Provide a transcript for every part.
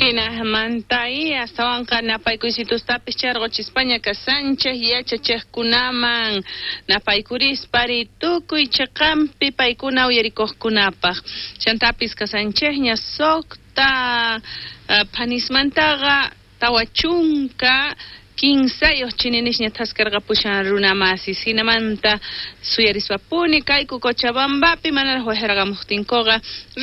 Hinamanta y astawanqa napaykuysitustapis charquchispaña kashanchej yachachejkunaman napaykurispa tukuy chiqanpi paykuna uyarikuqkunapaq chantapis kasanchejña suqta phanismantaqa 43 chininishña thaskarqapushan runamasis hinamanta suyarispapuni kayku Cochabambapi manaraq waqharqamuqtinkuqa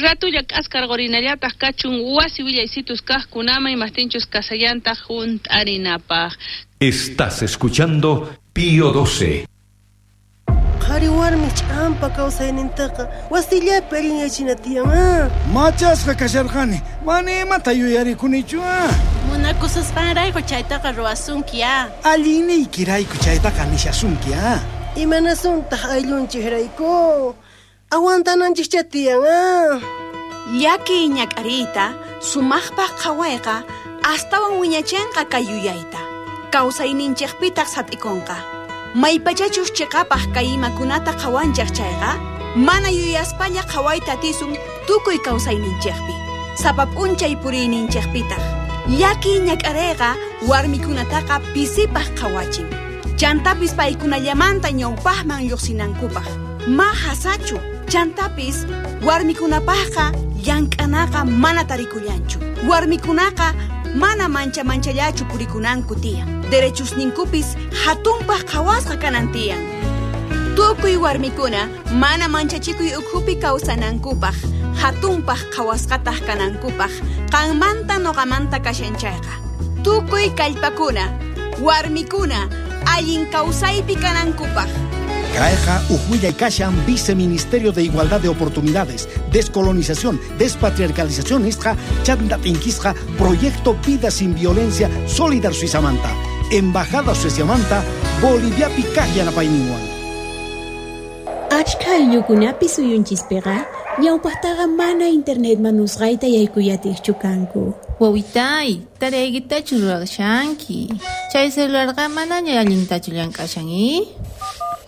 ratulla k'askarqurinallataq kachun wasi willaysitus kaqkunaman imaqtinchus kasallantaq hunt'arinapaq. Estás escuchando Pío 12. Qhari warmi ch'ampa kawsaynintaqa wasillapi allinyachina tiyan. Machasqa kasharqani, mana imata yuyarikunichu. Munakususqanrayku chaytaqa ruwasunki. Allinniykirayku chaytaqa nishasunki. Imanasuntaq ayllunchikrayku? Aguantananchikcha tiyan. Llaki ñak'ariyta sumaqpaq qhawayqa astawan wiñachinqa kay yuyayta. Kawsayninchikpitaq sat'ikunqa. Maypachachus chiqapaq kay imakunata qhawanchik chayqa, mana yuyaspalla qhawayta atisun tukuy kawsayninchikpi. Sapa p'unchay puriyninchikpitaq. Llaki ñak'ariyqa warmikunataqa pisipaq qhawachin. Chantapis paykunallamanta ñawpaqman lluqsinankupaq. Ma hasachu. Chantapis warmikunapaqqa llank'anaqa mana tarikullanchu. Warmikunaqa mana mancha manchallachu purikunanku tiyan. Derechusninkupis hatunpaq qhawasqa kanan tiyan. Tukuy warmikuna mana manchachikuy ukhupi kawsanankupaq, hatunpaq qhawasqataq kanankupaq, qanmanta noqamanta kashan chayqa. Tukuy kallpakuna, warmikuna, allin kawsaypi kanankupaq. Kayqa uj kashan Viceministerio de Igualdad de Oportunidades, Descolonización, Despatriarcalización nisqa chanta t'inkisqa Proyecto Vida Sin Violencia Solidar Suizamanta, Embajada Sueciamanta, Boliviapi kaq yanapayninwan. Achka ayllukunapi suyunchispiqa ñawpaqtaqa mana internet manusqayta yaykuyatiqchu kanku. Wawitay, taraykitachu ruwashanki. Chay celularqa manaña allintachu llank'ashan,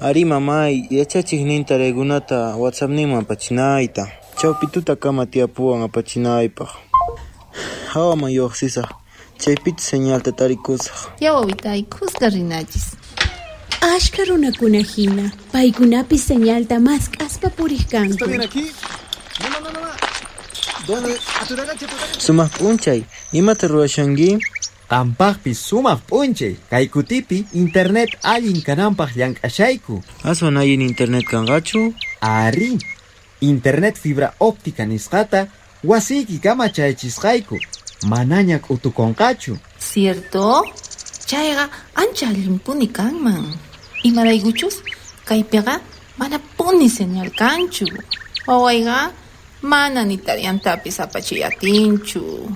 Ari mamay, yachachiqnin taraykunata WhatsAppninman apachinayta. Chawpi tutakama tiyapuwan apachinaypaq. Hawaman lluqsisaq, chaypichu señalta tarikusaq. Ya wawitay, kuska rinachis. Ashka runakuna hina, paykunapis señalta mask'aspa puriq kanku. ¿Está bien aquí? No, no, no, no. ¿Dónde? Sumaq p'unchay, imata ruwashanki? Qampaqpis sumaq p'unchay, kay kutipi internet allin kananpaq llank'ashayku. Aswan allin internet kanqachu? Ari, internet fibra óptica nisqata wasiykikama chayachisqayku, manaña k'utukunqachu. Cierto? Chayqa ancha allinpuni kanman. Imaraykuchus kaypiqa manapuni señal kanchu. Wawayqa mana ni tariyantapis apachiy atinchu.